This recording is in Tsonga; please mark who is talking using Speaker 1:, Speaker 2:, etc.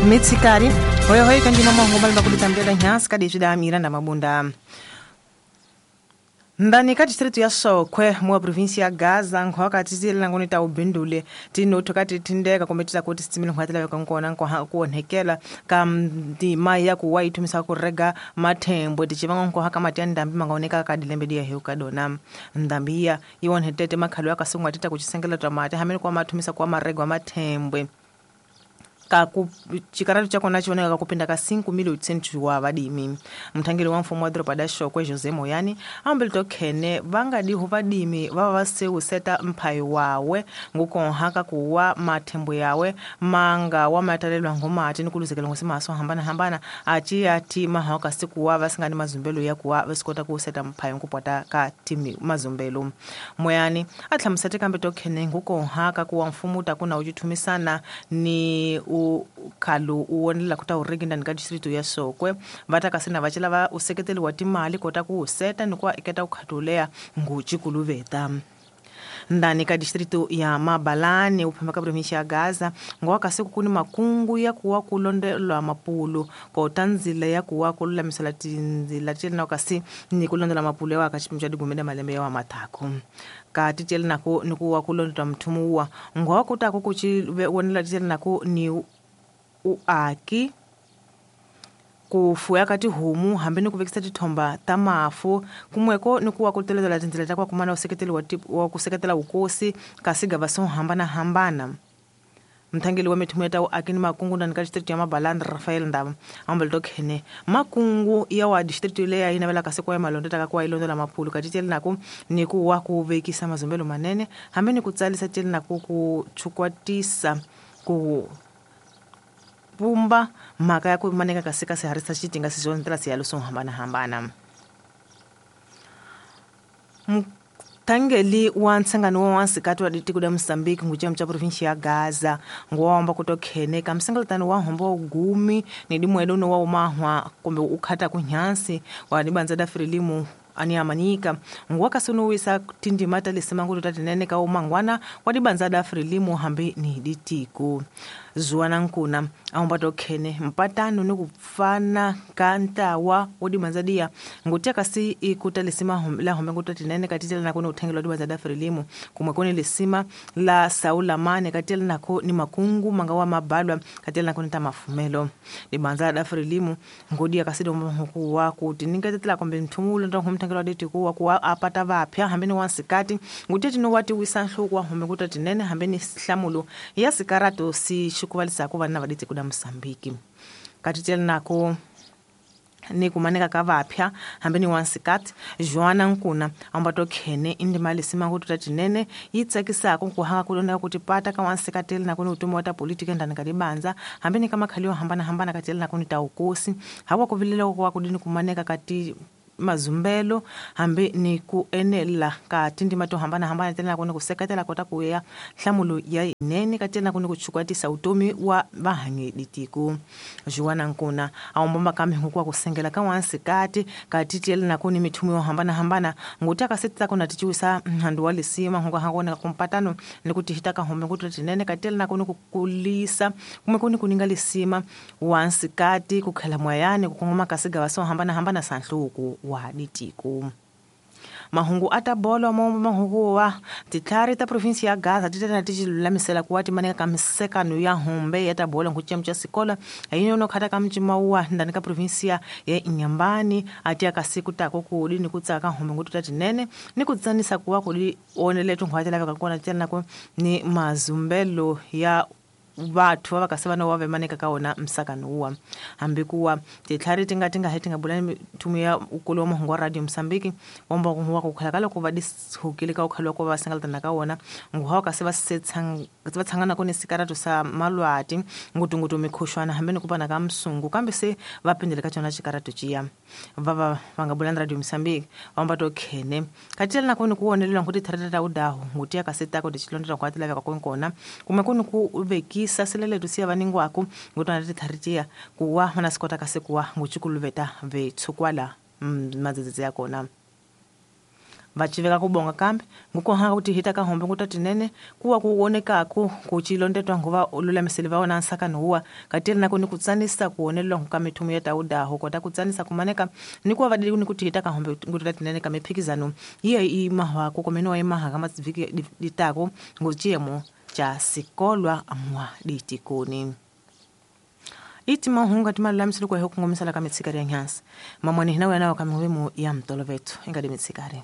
Speaker 1: Mitsikari hoyo kandima mahungu malimba kuditambela nyasi kadi zvida Miranda Mabunda. Ndani ka distritu ya Sokwe mwa provinsi ya Gaza nkhwaka tizile ngoni ta ubindule tinotho ka titindeka kumbe tita kuti sitsimile nkhwatela yo kankona nkwa ku onhekela ka ndima ya ku wa ithumisa ku rega mathembo tichivanga nkwa ka mati ya ndambi mangaoneka ka dilembe dia heu ka dona ndambi ya iwonhetete makhalo ya kasungwa tita kuchisengela twa mati hamene kwa mathumisa kwa maregwa mathembwe ka ku chikaratu chakona chioneka kupinda ka 5.800 wa vadimi. Mthangeli wa mfumo wa doroba da Shokwe Jose Moyani ambele tokhene vangadiho vadimi vava vasewuseta mphayi wawe ngukonhaka kuwa mathembo yawe manga wa matalelwa ngomati ni kuluzekela ngosimaso hambana hambana achi ati mahaka sikuwa vasingani mazumbelo ya kuwa vasikota kuseta mphayi ngupota ka timi mazumbelo. Moyani atlhamusete kambe tokhene ngukonhaka kuwa mfumo takuna uchithumisana ni ukhalu uwonela kuta urigi ndani ka distritu ya Sokwe vatakasina vacela va useketeli wa timali kota ku seta ni kwa iketa ukhatulea nguchikuluveta. Ndani ka distritu ya Mabalani uphemba ka provinsi ya Gaza ngowa siku kuni makungu ya kuwa kulondelwa mapulu kota nzila ya kuwa kululamisela tinzila tiyeli kasi ni kulondela mapulu ya waka chipimu cha digumene malembe ya wa mathako ka tiyeli nako ni kuwa kulondela mthumu wa ngowa kutako kuchi wonela tiyeli nako ni uaki kufuya ka tihomu hambi ni ku vekisa tithomba ta mafu kumweko ni kuwa ku teletela tindzila ta kwa kumana useketeli wa ku seketela vukosi ka sigava swo hambanahambana. Mthangeli wa mithumo ya ta uaki ni makungu ndani ka district ya Mabalani Rafael Ndaba ambele tokhene makungu ya wa district leya yi navelaka siku ya malondo taka kuwa ilondola maphulu ka tiyeli nako ni ku wa ku vekisa mazumbelo manene hambi ni ku tsalisa tiyeli nako ku chukwatisa ku pumba mhaka ya ku maneka kasi ka siharisa xitinga sisonetela siyalo swo hambanahambana. Mthangeli wa ntsangano wa wansikati wa ditiko da Mozambique nguchemu cha provinsi ya Gaza ngowamba kutokhene ka msengeletano wa hombo gumi ni dimwedo no wa umahwa kumbe ukhata kunyansi wa dibanza da Frelimu ani amanika ngwaka sunuwisa tindima talisema nguto tatinene ka umangwana wa dibanza da Frelimu hambi ni ditiko zuwana nkuna aomba tokhene mpatano ni kupfana ka ntawa wo dibanza dia ngutia kasi ikuta lisima la hombe nguto tinene katitela nako ni uthengelo dibanza da Frelimu kumwe koni lisima la Saula Mane katitela nako ni makungu manga wa mabalwa katitela nako ni ta mafumelo dibanza da Frelimu ngodia kasi domba hukuwa kuti ningatetela kombe mthumulo ndo mthengelo ditiko wa kuwa apata vapya hambi ni wansikati ngutia tino wati wisa nhluku wa hombe nguto tinene hambi ni hlamulo ya sikarato si xikuvalisa ku vana va ditiko da Mozambique katitela nako ni kumaneka ka vapya hambi ni wansikati Joana Nkuna amba tokhene indima lisima nguto tatinene yi tsakisaka ku hanga kulonda kuti pata ka wansikati nako ni utomi wa ta politiki ndani ka dibanza hambi ni ka makhali yo hambanahambana katitela nako ni ta ukosi hawa ku vilela ku wa kudini kumaneka kati mazumbelo hambi ni ku enela ka tindima to hambanahambana tena kuni ku seketela kota ku ya nhlamulo ya inene ka tena kuni ku chukwatisa utomi wa vahanyi ditiko. Joana Nkuna aombomba kambe hukuwa kusengela ka wansikati ka titiyeli nako ni mithumo yo hambanahambana nguti akasetisa kuna tichiwisa nhandu wa lisima hunga hangona kumpatano ni kutihita ka hombe nguti tinene ka tiyeli nako ni ku kulisa kumwe kuni kuninga lisima wansikati kukhela mwayani kukongoma ka sigava swo hambanahambana sa nhluku wa ditiko. Mahungu atabolo mo mahungu wa titlhari ta provinsi ya Gaza titena tichilulamisela kuwa timaneka ka misekano ya hombe ya tabolo nguchemu cha sikola ayino khata ka mcima wa ndani ka provinsi ya Inyambani ati akasiku tako kudi ni kutsaka hombe ngutu tatinene ni kutsanisa kuwa kudi onele tunkhwatela ka kona tena ko ni mazumbelo ya vathu va kasi vana wa vemaneka ka wona msakano wa hambi kuwa titlhari tinga tinga hetinga bulani thumu ya ukulu wa mahungu wa Radio Mozambique womba ku wa ku khala ka loko va dishukile ka ukhala ko va sengalatana ka wona nguha kasi va va tshangana ku ni sikarato sa malwati ngutungutu mikhushwana hambi ni ku pana ka msungu kambe se va pindele ka tsona xikarato ciya va va nga bulani Radio Mozambique wamba to khene katela na ku ni ku wonelela ngu titlhari ta udahu nguti ya kasi ta ku tichilondela ku laveka ku kona kumbe ku ni ku veki sasileletu siya vaningwaku ngutwana titlharitia kuwa mana sikota kasi kuwa nguchikuluveta vetshukwala madzedzedze ya kona. Vaciveka kubonga kambe ngukuhanga kuti hita kahombe ngutatinene kuwa kuwonekaku kucilondetwa nguva ululamiseli va wona nsakano huwa katiri nako ni kutsanisa kuwonelelwa nkuka mithumu ya taudaho kota kutsanisa kumaneka ni kuwa vadili ni kuti hita kahombe ngutatinene ka miphikizano iya imahwako komene imaha kama viki ditako nguciyemo cha sikolwa mwa ditikoni. Iti mahunga timalulamiseli kuehe kungomisala ka mitsikari ya nyansi mamwani hinawe nawo kamiwemu ya mtolovetu ingadi mitsikari.